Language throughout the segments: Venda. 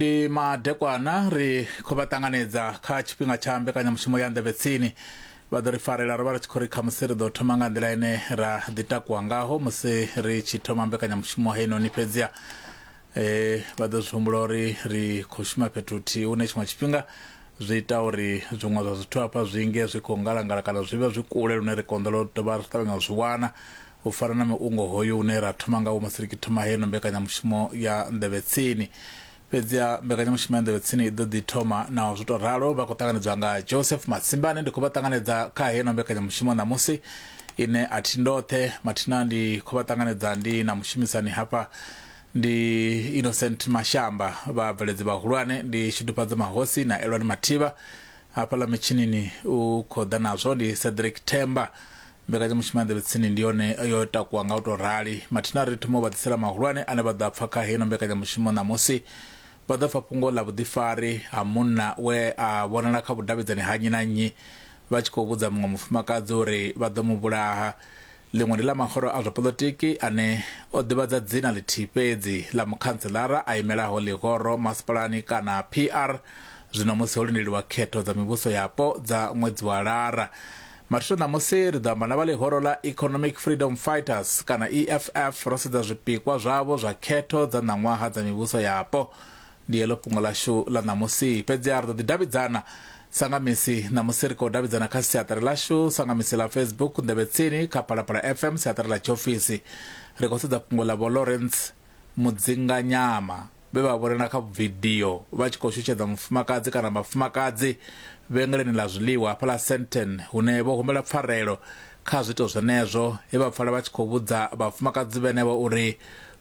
Ndi madekwana ri khou vha ṱanganedza kha tshifhinga tsha mbekanyamushumo ya Nḓevhe Tsini. Vha ḓo ri farela ro vha ri tshi khou ri khamusi ri ḓo thoma nga nḓila ine ra ḓi takuwa ngaho musi ri tshi thoma mbekanyamushumo heinoni fhedziha e, vha ḓo zwi humbula uri ri khou shuma fhethu huthihi hune tshiṅwe tshifhinga zwi ita uri zwiṅwe zwa zwithu hafha zwi nge zwi khou ngalangala kana zwi vhe zwi kule lune ri konḓelwa u dovha ri ṱavhanya u zwi wana u fana na muungo hoyu une ra thoma ngawo musi ri tshi thoma heino mbekanyamushumo ya Nḓevhe Tsini. Fhedziha mbekanyamushumo ya Nḓevhe Tsini i ḓo ḓi thoma naho zwo tou ralo. Vha khou ṱanganedzwa nga Joseph Matsimbane. Ndi khou vha ṱanganedza kha heino mbekanyamushumo ṋamusi ine a thi ndoṱhe mathina ndi khou vha ṱanganedza ndi na mushumisani hafha ndi Innocent Mashamba, vhabveledzi vhahulwane ndi Shudufhadzo Mahosi na Elwani Mathivha. Hafhaḽa mitshinini u khou ḓa nazwo ndi Cedric Themba. Mbekanyamushumo ya Nḓevhe Tsini ndi yone yo takuwa nga u tou rali. Mathina ri thoma u vha ḓisela mahulwane ane vha ḓo a pfa kha heino mbekanyamushumo ṋamusi. Vha ḓo pfa fhungo ḽa vhuḓifari ha munna we a vhonala kha vhudavhidzani ha nnyi na nnyi vha tshi khou vhudza muṅwe mufumakadzi uri vha ḓo mu vhulaha. Ḽiṅwe ndi ḽa mahoro a zwa poḽotiki ane o ḓivhadza dzina ḽithihi fhedzi ḽa mukhantselara a imelaho ḽihoro masipalani kana PR zwino musi ho lindeliwa khetho dza mivhuso yapo dza ṅwedzi wa Lara. Mathina ṋamusi ri ḓo amba na vha ḽihoro ḽa Economic Freedom Fighters kana EFF ro sedza zwipikwa zwavho zwa khetho dza ṋaṅwaha dza mivhuso yapo. Ndi heḽo fhungo ḽashu ḽa ṋamusi. Fhedziha ri ḓo ḓi davhidzana sa nga misi. Ṋamusi ri khou davhidzana kha siaṱari ḽashu sa nga misi ḽa Facebook, Nḓevhe Tsini, kha Phalaphala FM, siaṱari ḽa tshiofisi. Ri khou sedza fhungo ḽa Vho Lawrence Mudzinganyama vhe vha vhonala kha vidio vha tshi khou shushedza mufumakadzi kana vhafumakadzi vhengeleni ḽa zwiḽiwa hafhaḽa Sandton hune vho humbela pfarelo kha zwiito zwenezwo he vha pfala vha tshi khou vhudza vhafumakadzi vhenevho uri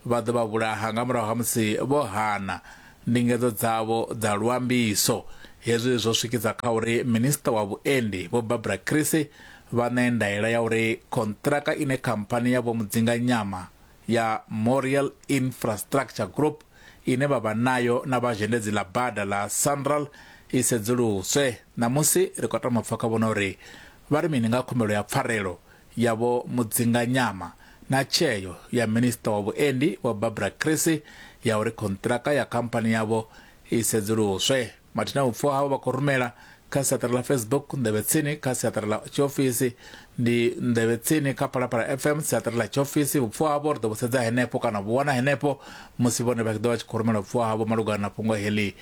vha ḓo vha vhulaha nga murahu ha musi vho hana ndingedzo dzavho dza luambiso. Hezwi zwo swikisa kha uri Minisiṱa wa Vhuendi Vho Barbara Creecy vha ṋee ndaela ya uri khonṱiraka ine khamphani ya Vho Mudzinganyama ya Moriel Infrastructure Group ine vha vha nayo na vha zhendedzi ḽa bada ḽa Sanral i sedzuluswe. Ṋamusi ri khou tama u pfa kha vhone uri vha ri mini nga khumbelo ya pfarelo ya Vho Mudzinganyama na tsheo ya Minisiṱa wa Vhuendi Vho Barbara Creecy ya uri khonṱiraka ya khamphani yavho i sedzuluswe. Mathina vhupfiwa havho vha khou rumela kha siaṱari ḽa Facebook Nḓevhe Tsini, kha siaṱari ḽa tshiofisi ndi Nḓevhe Tsini kha Phalaphala FM siaṱari ḽa tshiofisi. Vhupfiwa havho ri ḓo vhu sedza henefho kana vhu wana henefho musi vhone vha tshi ḓo vha tshi khou rumela vhupfiwa havho malugana na fhungo heḽi.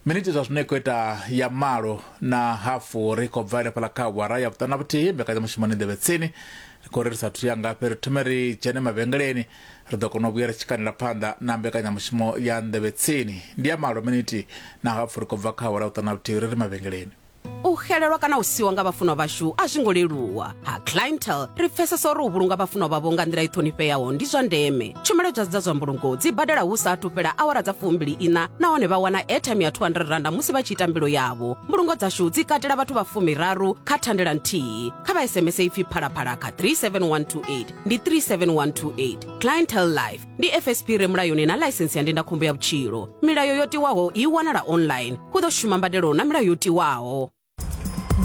Miniti zwa zwino i khou ita ya malo na hafu ri khou bva henefhaḽa kha awara ya vhuṱanu na vhuthihi mbekanyamushumo ni Nḓevhe Tsini. Ri khou ri ri sathu ya ngafhi ri thome ri dzhene mavhengeleni ri ḓo kona u vhuya ri tshi kanela phanḓa na mbekanyamushumo ya Nḓevhe Tsini. Ndi ya malo miniti na hafu ri khou bva kha awara ya vhuṱanu na vhuthihi ri ri mavhengeleni. U xelelwa kana u siwa nga vhafunwa vhashu a zwi ngo leluwa. Ha Clientele ri pfesesa uri u vhulunga vhafunwa vhavho nga nḓila i ṱhonifheaho ndi zwa ndeme. Tshumelo dza dza zwa mbulungo dzi badela hu sa athu fhela awara dza fumbili iṋa nahone vha wana airtime ya R200 musi vha tshi ita mbilo yavho. Mbulungo dzashu dzi katela vhathu vha fumiraru kha thandela nthihi. Kha vha SMS ipfi Phalaphala kha 37128 ndi 37128. Clientele Life ndi FSP re mulayoni na ḽaisensi ya ndindakhombo ya vhutshilo. Milayo yo tiwaho i wanala online. Hu ḓo shuma mbadelo na milayo yo tiwaho.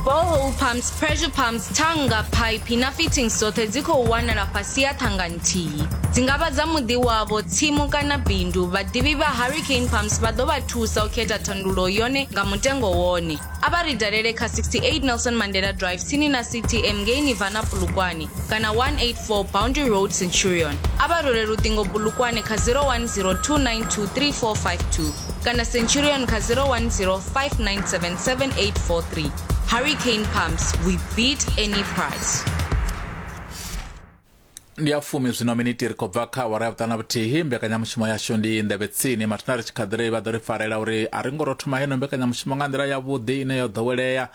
Borehole pumps, pressure pumps, thannga, phaiphi na fittings dzoṱhe dzi khou wanala fhasi ha ṱhanga nthihi. Dzi nga vha dza muḓi wavho, tsimu kana bindu, vhaḓivhi vha Hurricane Pumps vha ḓo vha thusa u khetha thandululo yone nga mutengo wone. A vha ri dalele kha 68 Nelson Mandela Drive tsini na CTM ngei Nirvana Polokwane kana 184 Boundary Road Centurion. A vha rwele luṱingo Polokwane kha 0102923452 kana Centurion kha 0105977843. Hurricane Pumps, we beat any price. Ndi ya fumi zwino miniti ri khou bva kha awara ya vhuṱanu na vhuthihi. Mbekanyamushumo yashu ndi Nḓevhe Tsini. Mathina ri tshi kha ḓi ri vha ḓo ri farela uri a ri ngo ro thoma heino mbekanyamushumo nga nḓila yavhuḓi ine yo ḓowelea.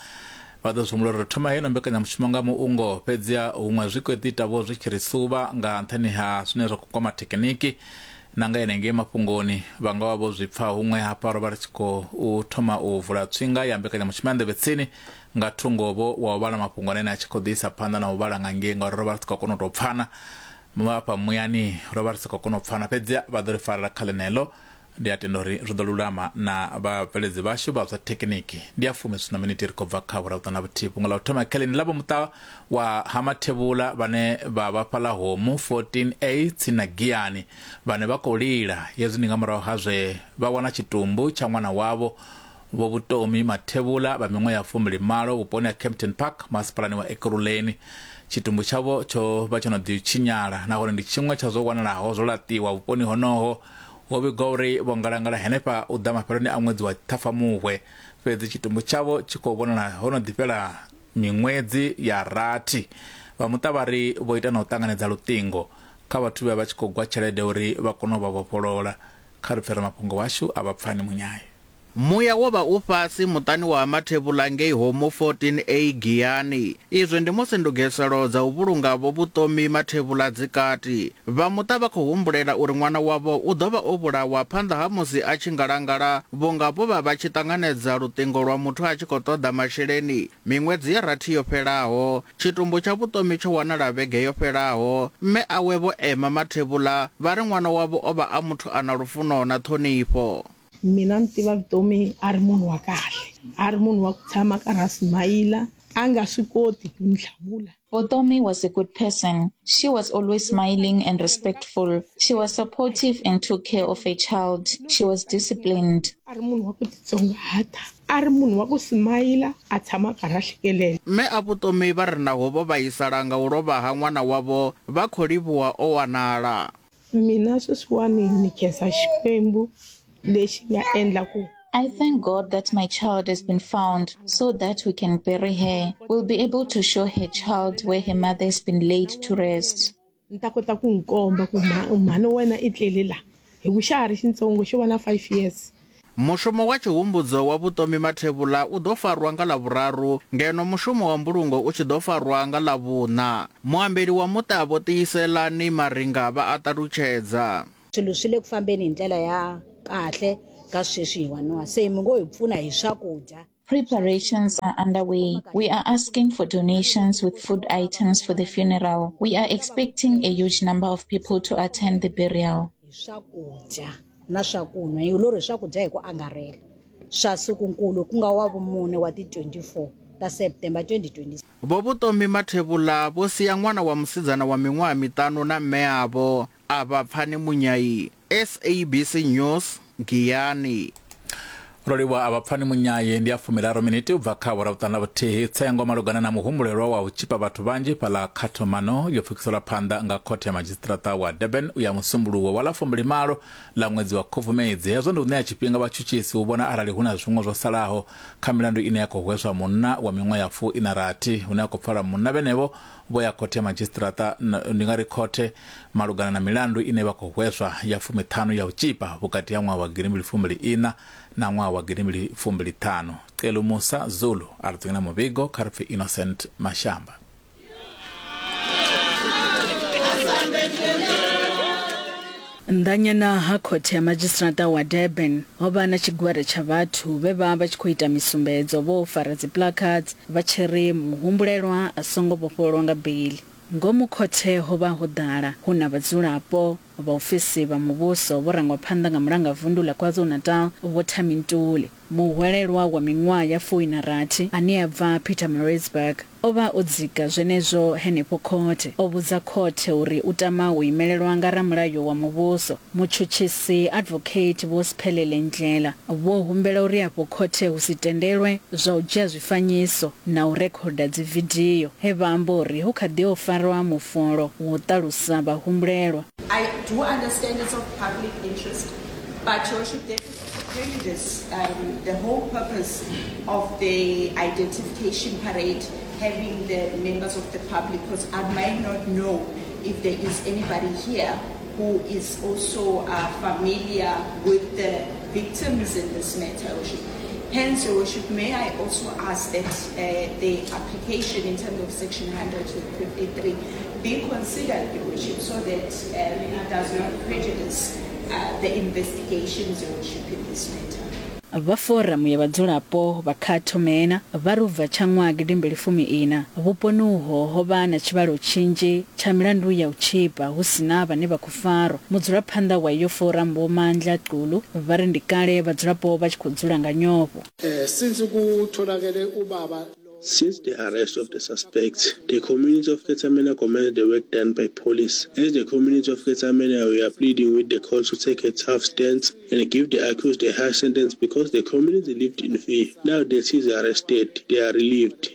Vha ḓo zwi humbula uri ri thoma heino mbekanyamushumo nga muungo, fhedziha huṅwe zwi khou ḓi ita vho zwi tshi ri suvha nga nṱhani ha zwine zwa khou kwama thekiniki na nga henengei mafhungoni. Vha nga vha vho zwi pfa huṅwe hafha ro vha ri tshi khou thoma u vula tswinga ya mbekanyamushumo ya Nḓevhe Tsini nga thungo-vho wa u vhala mafhungo ane a tshi khou ḓi isa phanḓa na u vhala nga ngei ngauri ro vha ri si khou kona u tou pfana hafha muyani, ro vha ri si khou kona u pfana, fhedzi vha ḓo ri farela kha ḽeneḽo. Ndi a tenda uri zwi ḓo lulama na vhabveledzi vhashu vha zwa thekiniki. Ndi a fumi zwina miniti ri khou bva kha vhuraruṱanu na vhuthihi. Fhungo ḽa u thoma kheleni ḽa vho muṱa wa Hamathevhula vhane vha vha fhaḽa Homu 14A tsini na Giyani vhane vha khou lila. Hezwi ndi nga murahu ha zwe vha wana tshitumbu tsha ṅwana wavho Vho Vutomi Mathevhula vha miṅwaha ya 28 vhuponi ha Kempton Park masipalani wa Ekurhuleni. Tshitumbu tshavho tsho vha tsho no ḓi tshinyala nahone ndi tshiṅwe tsha zwo wanalaho zwo laṱiwa vhuponi honoho. Ho vhigwa uri vho ngalangala henefha u ḓa mafheloni a ṅwedzi wa Ṱhafamuhwe, fhedzi tshitumbu tshavho tshi khou vhonala ho no ḓi fhela miṅwedzi ya rathi. Vha muṱa vha ri vho ita na u ṱanganedza luṱingo kha vhathu vhe vha tshi khou gwa tshelede uri vha kone u vha vhofholola. Kha ri pfe ramafhungo washu a vha Pfani Munyayi. Muya wo vha u fhasi muṱani wa ha Mathevhula ngei Homu 14A Giyani. Izwi ndi musi ndugiselo dza u vhulunga Vho Vutomi Mathevhula dzi kati. Vha muṱa vha khou humbulela uri ṅwana wavho u ḓo vha o vhulawa phanḓa ha musi a tshi ngalangala vhunga vho vha vha tshi ṱanganedza luṱingo lwa muthu a tshi khou ṱoḓa masheleni miṅwedzi ya rathi yo fhelaho. Tshitumbu tsha Vutomi tsho wanala vhege yo fhelaho. Mme awe Vho Emma Mathevhula vha ri ṅwana wavho o vha a muthu a na lufuno na ṱhonifho. Mina ni tiva Vutomi a ri munhu wa kahle, a ri munhu wa ku tshama a karhi a simayila, a nga swi koti ku ni hlamula. Vutomi was a good person. She was always smiling and respectful. She was supportive and took care of her child. She was disciplined. A ri munhu wa ku titsongahata, a ri munhu wa ku simayila, a tshama a karhi a hlekelela. Mme a Vutomi vha ri naho vho vhaisala nga u lovha ha ṅwana wavho, vha khou livhuwa o wanala. Mina sweswiwani ni khensa Xikwembu lexi nga endla ku. I thank God that my child has been found so that we can bury her. We'll be able to show her child where her mother has been laid to rest. Ni ta kota ku n'wi komba ku mhani wa wena i tlele la, hi ku xa ha ri xintsongo xo va na 5 years. Mushumo wa tshihumbudzo wa Vutomi Mathebula u ḓo farwa nga Ḽavhuraru ngeno mushumo wa mbulungo u tshi ḓo farwa nga Ḽavhuṋa. Muambeli wa muṱa Vho Tiyiselani Maringa vha a ṱalutshedza. Swilo swi le ku fambeni hi ndlela ya kahle ka sweswiwaniwa se mi ngo hi pfuna hi swakudya. Preparations are underway. We are asking for donations with food items for the funeral. We are expecting a huge number of people to attend the burial. Hi swakudya na swakunwa, hi lori hi swakudya hi ku angarhela swa sikunkulu ku nga wa vumune wa ti 24 ta September 2026. Vho Vutomi Mathebula vho sia ṅwana wa musidzana wa miṅwaha miṱanu na mme avho A vha pfani Munyai. SABC News, Giyani. Ro livhuwa a vha pfani Munyayi. Ndi ya fumiraru miniti u bva kha awara vhuṱanu na vhuthihi. Tsengo malugana na muhumbulelwa wa u tshipa vhathu vhanzhi fhaḽa Khathomano yo pfukiselwa phanḓa nga khothe ya madzhisiṱiraṱa wa Durban u ya Musumbuluwo wa ḽa 28 ḽa ṅwedzi wa Khubvumedzi. Hezwo ndi u ṋea tshifhinga vhatshutshisi u vhona arali hu na zwiṅwe zwo salaho kha milandu ine ya khou hweswa munna wa miṅwaha ya fu-iṋa rathi hune ha khou pfala munna vhenevho vho ya khothe ya madzhisiṱiraṱa ndi nga ri khothe malugana na milandu ine vha khou hweswa ya fumiṱhanu ya u tshipa vhukati ha ṅwaha wa gidimbili fumbili iṋa na ṅwaha wa gidimbili fumbili ṱhanu. Celu Musa Zulu a ri dzingela muvhigo kha ri pfi Innocent Mashamba. Nnḓanyana ha khothe ya madzhisiṱiraṱa wa Durban ho vha na tshigwada tsha vhathu vhe vha vha tshi khou ita misumbedzo vho fara dzi placards vha tshi ri muhumbulelwa a songo vhofhololwa nga beiḽi. Ngomu khothe ho vha ho ḓala hu na vhadzulapo, vhaofisi vha muvhuso vho rangwa phanḓa nga mulangavundu ḽa KwaZulu-Natal Vho Thami Ntuli. Muhwelelwa wa miṅwaha ya 60 ane a bva Pietermaritzburg o vha o dzika zwenezwo henefho khothe. O vhudza khothe uri u tama u imelelwa nga ramulayo wa muvhuso. Mutshutshisi Advocate Vho Sphelele Ndlela vho humbela uri afho khothe hu si tendelwe zwa u dzhia zwifanyiso na u rekhoda dzividio, he vha amba uri hu kha ḓi o farwa mufolo wa u ṱalusa vhahumbulelwa. I do understand it's of public interest, but Your Worship, that is to prejudice the whole purpose of the identification parade, having the members of the public, because I might not know if there is anybody here who is also familiar with the victims in this matter, Your Worship. Hence, Your Worship, may I also ask that the application in terms of Section 153 be considered, Your Worship, so that it does not prejudice the investigations, Your Worship, in this matter. Vha foramu ya vhadzulapo vha Cato Manor vha ri u bva tsha ṅwaha gidimbili fumi ina, vhuponi uho ho vha na tshivhalo tshinzhi tsha milandu ya u tzhipa hu si na vhane vha khou farwa. Mudzulaphanḓa wa iyo foramu Vho Mandla Xulu vha ri ndi kale vhadzulapo vha tshi khou dzula nga nyofho. Since kutholakele ubaba Since the arrest of the suspects, the community of Ketsamena commends the work done by police. As the community of Ketsamena, we are pleading with the court to take a tough stance and give the accused a harsh sentence because the community lived in fear. Now that he's arrested, they are relieved.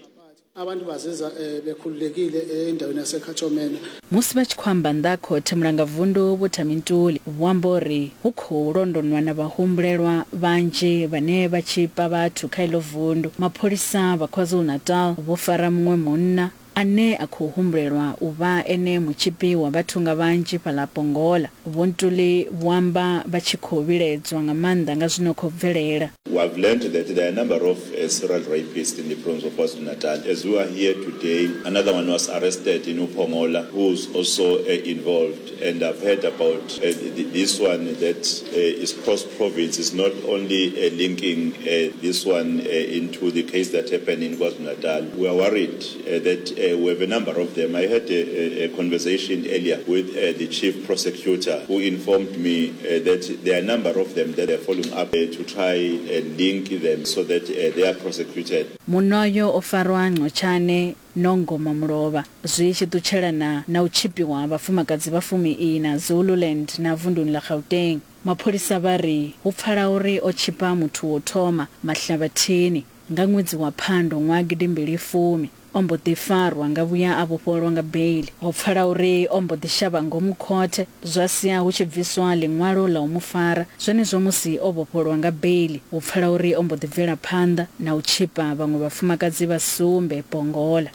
Abantu bazizwa eh, bekhululekile eh, endaweni yaseKhathomena. Musi vha tshi khou amba nnḓa ha khothe, Mulangavundu Vho Thami Ntuli vho amba uri hu khou londonwa na vhahumbulelwa vhanzhi vhane vha tzhipa vhathu kha iḽo vundu. Mapholisa vha KwaZulu-Natal vho fara muṅwe munna ane a khou humbulelwa u vha ene mutzhipi wa vhathu nga vhanzhi fhaḽa Pongola. Vho Ntuli vho amba vha tshi khou vhilaedzwa nga maanḓa nga zwino khou bvelela. We have learned that there are a number of uh, serial rapists in the province of KwaZulu-Natal. As we are here today, another one was arrested in Upongola, who's also uh, involved. And I've heard about uh, this one that uh, is cross-province. It's not only uh, linking uh, this one uh, into the case that happened in KwaZulu-Natal. We are worried uh, that uh, we have a number of them. I had a, a, a conversation earlier with uh, the chief prosecutor who informed me uh, that there are a number of them that are following up uh, to try and link them so that uh, they are prosecuted. Munna uyo o farwa Ncotshane Nongoma mulovha zwi tshi ṱutshelana na u tshipiwa ha vhafumakadzi vha fumi-iṋa Zululand na vunduni ḽa Gauteng. Mapholisa vha ri hu pfala uri o tshipa muthu wo thoma Mahlabathini nga ṅwedzi wa Phando ṅwaha gidimbili fumi. O mbo ḓi farwa nga vhuya a vhofhololwa nga beili. Ho pfala uri o mbo ḓi shavha ngomu khothe, zwa sia hu tshi bviswa ḽiṅwalo ḽa u mu fara. Zwenezwo musi o vhofhololwa nga beili, hu pfala uri o mbo ḓi bvela phanḓa na u tshipa vhaṅwe vhafumakadzi vha sumbe Pongola.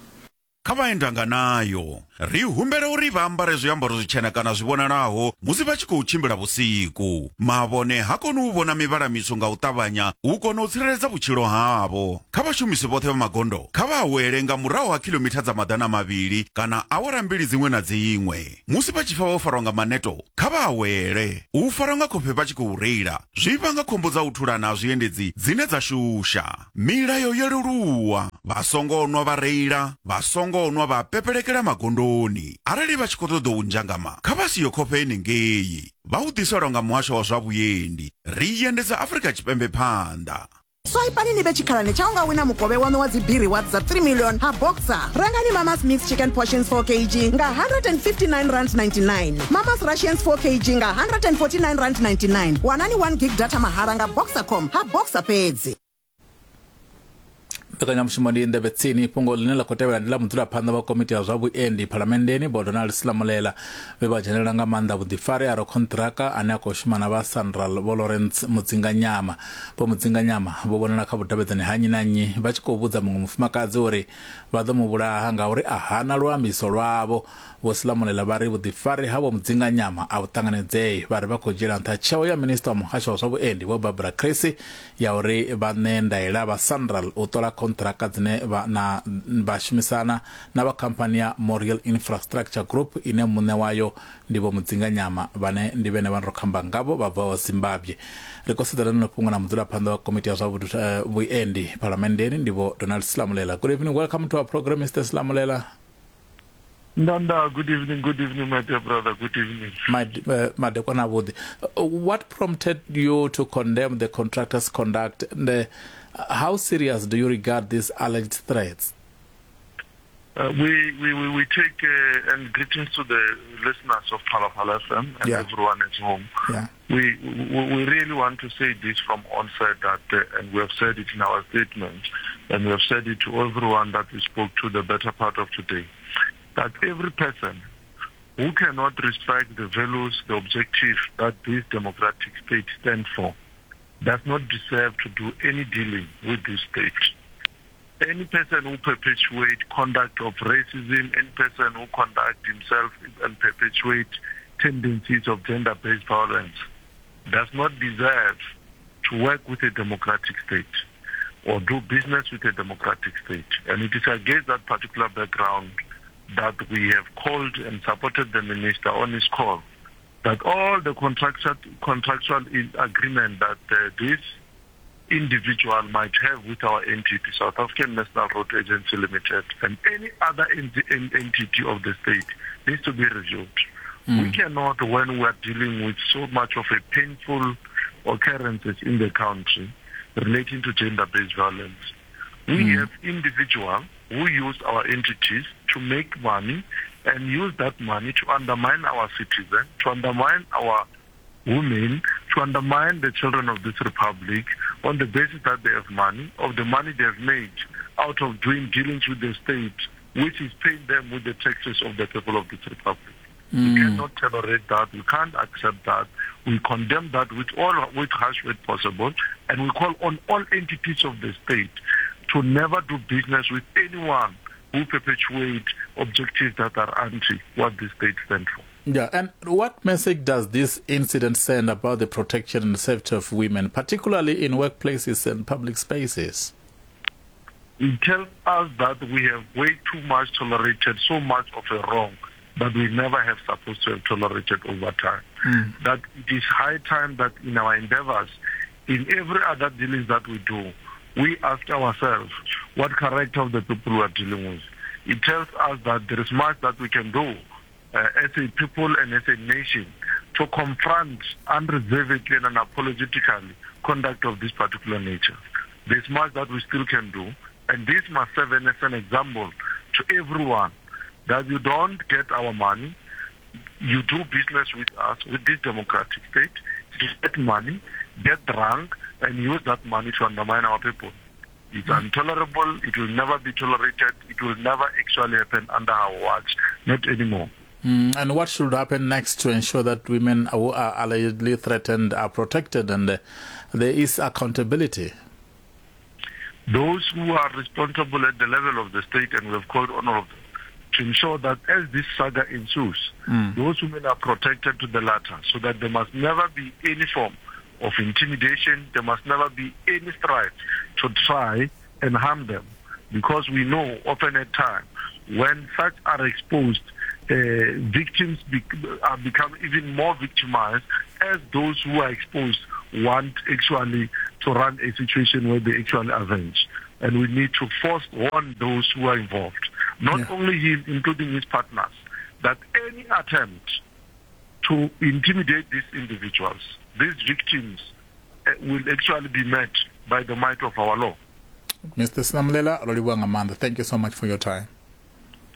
Kha vhaendanganayo, ri humbela uri vha ambare zwiambaro zwitshena kana zwi vhonalaho musi vha tshi khou tshimbila vhusiku. Mavhone ha koni u vhona mivhala mitswu nga u ṱavhanya u kona u tsireledza vhutshilo havho. Kha vhashumisi vhoṱhe vha magondo, kha vha awele nga murahu ha khilomitha dza 200 kana awara mbili dziṅwe na dziṅwe. Musi vha tshi pfa vho farwa nga maneto, kha vha awele. U farwa nga khofhe vha tshi khou reila zwi vhanga khombo dza u thulana ha zwiendedzi dzine dza shusha. Milayo yo leluwa, vha songo nwa vha reila, vha songo nwa vha pepelekela magondoni. Arali vha tshi khou ṱoḓa u nzhangama, kha vha siyo khofhe henengei. Vha hu ḓiselwa nga Muhasho wa zwa Vhuendi. Ri endedza Afrika Tshipembe phanḓa. Swaipani ni vhe tshikhalani tsha u nga wina mukovhe waṋu wa dzi biri wa dza 3 million ha Boxer. Rengani Mama's Mixed Chicken Portions 4 kg nga R159.99. Mama's Russians 4 kg nga R149.99. Wanani 1 gig data mahala nga Boxercom ha Boxer fhedzi. Mbekanyamushumo ndi nḓevhe tsini. Fhungo ḽine ḽa khou tevhela ndi ḽa mudzulaphanḓa wa komiti ya zwa vhuendi phalamenndeni Vho Donald Selamolela vhe vha dzhenelela nga maanḓa vhuḓifari ha rakhonṱiraka ane a khou shuma na vha Sanral Vho Lawrence Mudzinganyama. Vho Mudzinganyama vho vhonala kha vhudavhidzani ha nnyi na nnyi vha tshi khou vhudza muṅwe mufumakadzi uri vha ḓo mu vhulaha ngauri a hana luambiso lwavho. Vho Selamolela vha ri vhuḓifari ha Vho Mudzinganyama a vhu ṱanganedzei. Vha ri vha khou dzhiela nṱha tsheo ya minisiṱa wa muhasho wa zwa vhuendi Vho Barbara Creecy ya uri vha ṋee ndaela vha Sanral u ṱola khonṱhiraka dzine vha na vha shumisana na vha khamphani ya Moriel Infrastructure Group ine muṋe wayo ndi Vho Mudzinganyama vhane ndi vhene vhane ro khamba ngavho vha bvaho Zimbabwe. Ri khou sedzana na fhungo na mudzulaphanḓa wa komiti ya zwa vhuendi phalamenndeni ndi Vho Donald Selamolela. Good evening, welcome to our program Mr. Selamolela. Ndanda, good evening, good evening, my dear brother, good evening. Madekwana avhuḓi. What prompted you to condemn the contractor's conduct and how serious do you regard these alleged threats? We, we, we, we take and greetings to the listeners of Phalaphala FM and yeah. everyone at home. Yeah. We, we, we really want to say this from onset that, and we have said it in our statement, and we have said it to everyone that we spoke to the better part of today, that every person who cannot respect the values, the objective that this democratic state stands for, does not deserve to do any dealing with this state. Any person who perpetuates conduct of racism, any person who conduct himself and perpetuate tendencies of gender-based violence does not deserve to work with a democratic state or do business with a democratic state. And it is against that particular background that we have called and supported the minister on his call that all the contractual, contractual agreement that this individual might have with our entity, South African National Road Agency Limited, and any other entity of the state needs to be reviewed. Mm. We cannot, when we are dealing with so much of a painful occurrences in the country relating to gender-based violence, we mm. have individuals who use our entities to make money and use that money to undermine our citizens, to undermine our women, to undermine the children of this republic on the basis that they have money, of the money they have made out of doing dealings with the state, which is paying them with the taxes of the people of this republic. Mm. We cannot tolerate that. We can't accept that. We condemn that with all with harsh word possible, and we call on all entities of the state to never do business with anyone who perpetuate objectives that are anti what the state stands for. Yeah, and what message does this incident send about the protection and safety of women, particularly in workplaces and public spaces? It tells us that we have way too much tolerated so much of a wrong that we never have supposed to have tolerated over time. Mm. That it is high time that in our endeavors, in every other dealings that we do, we ask ourselves what character of the people we are dealing with. It tells us that there is much that we can do uh, as a people and as a nation to confront unreservedly and unapologetically conduct of this particular nature. There's much that we still can do, and this must serve as an example to everyone that you don't get our money, you do business with us, with this democratic state, get money, get drunk, and use that money to undermine our people. It's intolerable. It will never be tolerated. It will never actually happen under our watch. Not anymore. Mm, and what should happen next to ensure that women who are allegedly threatened are protected and uh, there is accountability? Those who are responsible at the level of the state, and we have called on all of them, to ensure that as this saga ensues, mm. those women are protected to the latter, so that there must never be any form of intimidation, there must never be any strife to try and harm them. Because we know often at time, when such are exposed, uh, victims be- are become even more victimized as those who are exposed want actually to run a situation where they actually avenge. And we need to force warn those who are involved, not yeah. only him, including his partners, that any attempt to intimidate these individuals, these victims, uh, will actually be met by the might of our law. Mr. Sinamulela Roliwa thank you so much for your time.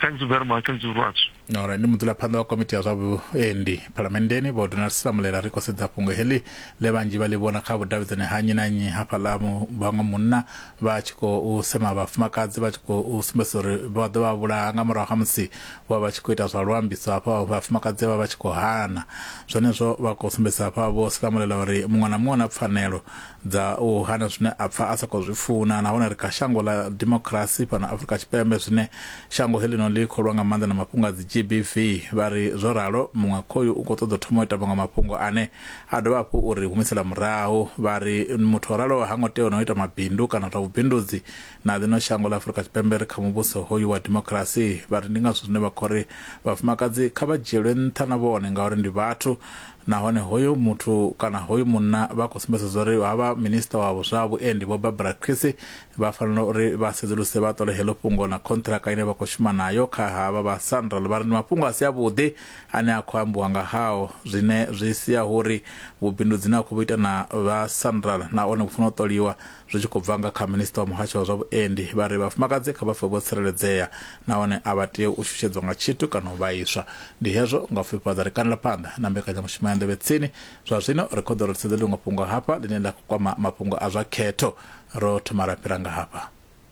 Thanks very much. Thanks very much. Alright, ndi mudzulaphanḓa wa komiti ya zwa vhuendi phalamenndeni vho Donald Sinamulela ri khou sedza fhungo heḽi ḽe vhanzhi vha ḽi vhona kha vhudavhidzani ha nnyi na nnyi hafhaḽa vhaṅwe munna vha tshi khou sema vhafumakadzi vha tshi khou sumbedzisa uri vha ḓo vha vhulaha nga murahu ha musi vho vha tshi khou ita zwa luambiso hafha vhafumakadzi vha vha tshi khou hana zwenezwo vha khou sumbedzisa hafha vho Sinamulela uri muṅwe na muṅwe na pfanelo dza u hana zwine a pfa a sa khou zwi funa nahone ri kha shango ḽa dimokirasi fhano Afrika Tshipembe zwine shango heḽino ḽi khou lwa nga maanḓa na mafhungo a dzi GBV vha ri zwo ralo muṅwe khoyu u khou ṱoḓa u thoma u ita maṅwe mafhungo ane a dovha hafhu uri humisela murahu vha ri muthu o raloho ha ngo tea na u ita mabindu kana zwa vhubindudzi na ḽino shango ḽa Afrika Tshipembe ri kha muvhuso hoyu wa dimokirasi vha ri ndi ngazwo zwine vha khou ri vhafumakadzi kha vha dzhielwe nṱha na vhone ngauri ndi vhathu Nahone hoyu muthu kana hoyu munna vha khou sumbedza zwori havha minisiṱa wa zwa vhuendi Vho Barbara Creecy vha fanela uri vha sedzuluse vha ṱole heḽo fhungo na khonṱhiraka ine vha khou shuma nayo kha havha vha Sanral. Vha ri ndi mafhungo a si avhuḓi ane a khou ambiwa nga hao zwine zwi sia hu uri vhubindudzi na khou vhu ita na vha Sanral na one vhu fanela u ṱoliwa zwi tshi khou bva nga kha minisiṱa wa muhasho wa zwa vhuendi. Vha ri vhafumakadzi kha vha pfe vho tsireledzea nahone a vha tei u shushedzwa nga tshithu kana u vhaiswa. Ndi hezwo nga u fhifhadza ri kandela phanḓa na mbekanyamushumo ya Nḓevhe Tsini. Zwa zwino ri khou ḓo ri sedze ḽiṅwe fhungo hafha ḽine ḽa khou kwama mafhungo a zwa khetho. Ro thoma ra fhira nga hafha.